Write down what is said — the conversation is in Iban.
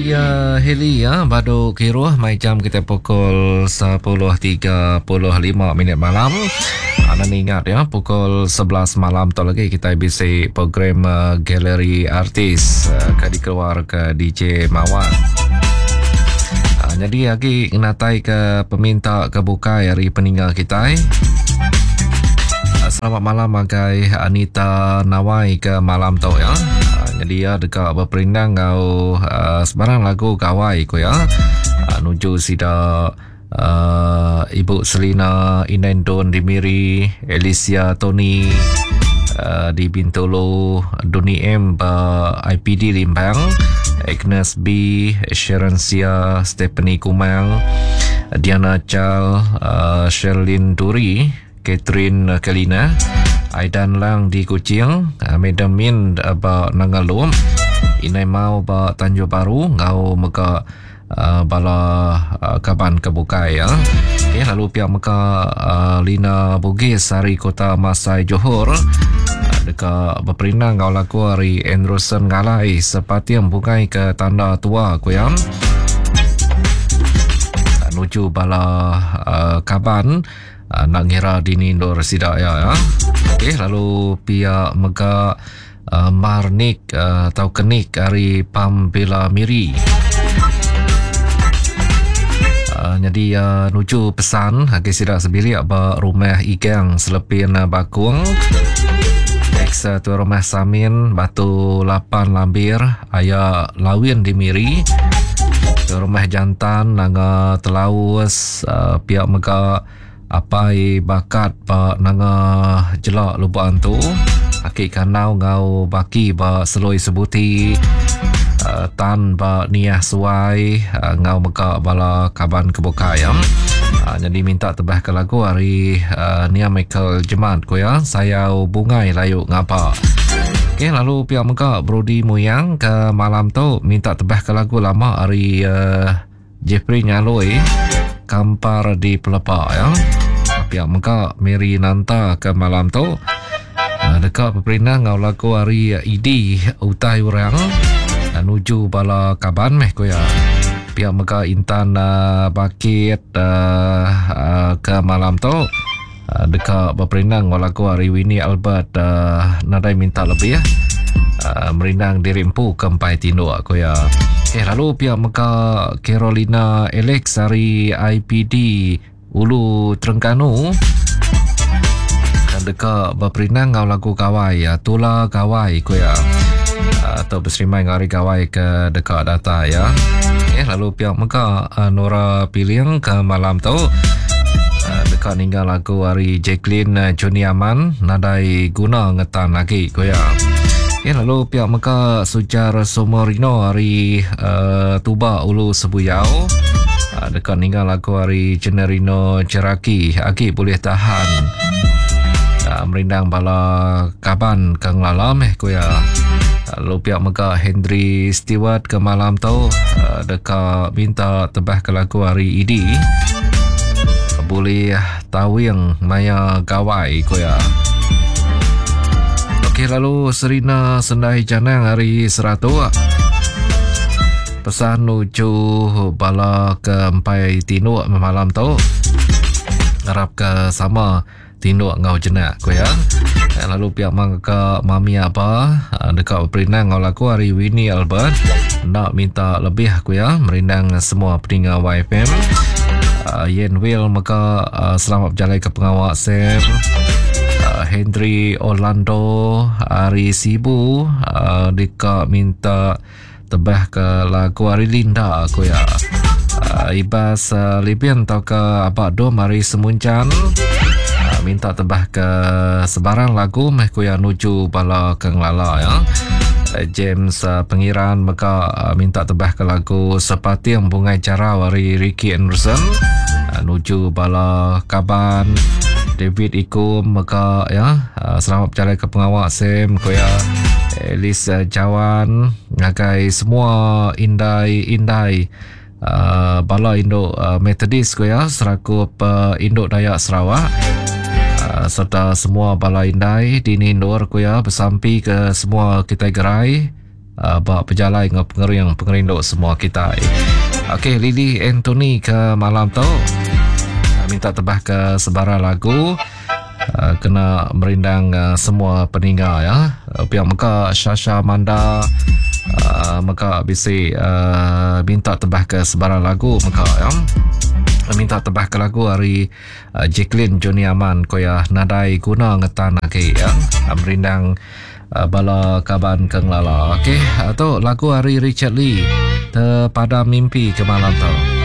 Ya Heli ya badu kiruh mai jam kita pukul 10.35 minit malam. Anda ingat ya pukul 11 malam tu lagi kita bisi program uh, galeri artis uh, ke dikeluar ke DJ Mawar. Uh, jadi lagi ngenatai ke peminta ke bukai hari peninggal kita. Uh, selamat malam agai Anita Nawai ke malam tu ya. Jadi ya deka beperindang enggau uh, sebarang lagu gawai ku ya. Uh, nuju sida uh, Ibu Selina Inendon di Miri, Alicia Tony uh, di Bintulu, Duni M ba IPD Limbang, Agnes B, Sharon Sia, Stephanie Kumang, Diana Chal, uh, Sherlyn Duri, Catherine Kelina, Aidan Lang di Kuching, Madam Min ba Nanga Lum, Inai Mau ba Tanjung Baru enggau mega uh, bala uh, kaban ke bukai ya. Okay, lalu pihak mega uh, Lina Bugis ari Kota Masai Johor deka beperindang enggau lagu ari Anderson Ngalai Sepating Bungai ke Tanda Tua ku ya. Nuju bala uh, kaban Enda ngira dini endur sida iya ya. Okey lalu pia mega uh, Marnik uh, atau Kenik ari Pambila Miri. Uh, jadi uh, nuju pesan agi sida sebilik ba rumah Igang Selepin Bakung. Ex tu rumah Samin Batu 8 Lambir aya Lawin di Miri. Tu rumah Jantan Nanga Telaus Pia mega apai bakat ba nanga jela Lubok Antu, aki Kandau enggau baki ba Seloi Sebuti, Tan ba Niah Suai enggau mega bala kaban ke bukai. Nyadi minta tebah ke lagu ari Nia Michael Jemat ku iya Sayau Bungai Layu Ngapa. Okey lalu pia mega Brody Muyang ke malam tu minta tebah ke lagu lama ari Jeffrey Nyaloi kampar di Pelepa ya. Pia mega Mary Nanta ke malam tu ah, deka beperindang enggau lagu ari ED Utai Orang ah, nuju bala kaban meh ku ya. Pia mega Intan uh, Bakit uh, uh, ke malam tu uh, deka beperindang enggau lagu ari Winnie Albert uh, nadai minta lebih uh, merindang diri empu ke empai tinduk ku ya. Eh lalu pia mega Carolina Alex ari IPD Ulu Terengganu deka beperindang enggau lagu gawai ya, Tula Gawai ku ya. Atau berserimai enggau hari gawai ke deka datai ya. Eh lalu pia mega Nora Piling ke malam tu deka ninggal lagu ari Jacqueline Johnny Aman nadai guna ngetan agi ku iya. Okay, lalu pia mega Sujar Somorino ari uh, Tuba Ulu Sebuyau uh, deka ninggal lagu ari Generino Cheraki agi boleh tahan uh, merindang bala kaban ke ngelala meh ku iya. Lalu pia mega Henry Stewart ke malam tu uh, deka minta tebah ke lagu ari ED boleh tawing maya gawai ku iya. Okey lalu Serina Sendai Janang hari Seratuk pesan nuju bala ke empai tinduk malam tu ngarap ke sama Tinduk enggau jenak, ku iya. Lalu pia mangka mami aba deka beperindang enggau lagu ari Winnie Albert. Enda minta lebih, ku iya, merindang semua peninga YFM. Uh, Yen Will mega uh, selamat bejalai ke pengawa Sam. Uh, Henry Orlando ari Sibu uh, deka minta tebah ke lagu ari Linda ku iya. Uh, Ibas uh, Libin tauka Abak Dom ari Semunjan uh, minta tebah ke sebarang lagu meh ku iya nuju bala ke ngelala ya. James uh, Pengiran mega uh, minta tebah ke lagu Sepating Bungai Jarau ari Ricky Anderson uh, nuju bala kaban David Ikum mega ya uh, selamat berjalai ke pengawa Sam ku iya. Elisa Jawan ngagai semua indai-indai uh, bala indu uh, Methodist ku ya serakup uh, indu Dayak Sarawak uh, serta semua bala indai di nindur ku ya besampi ke semua kita gerai. Ba pejalai enggau pengering pengerindu semua kitai. Okey Lily Anthony ke malam tu minta tebah ke sebara lagu kena merindang semua peninga ya. Pia mega Shasha Manda mega bisi minta tebah ke sebara lagu mega ya. Minta tebah ke lagu ari Jacqueline Johnny Aman ko ya nadai guna ngetan agi ya. Merindang Bala kaban ke ngelala. Okey, tu lagu ari Richard Lee, Terpadam Mimpi ke malam tu.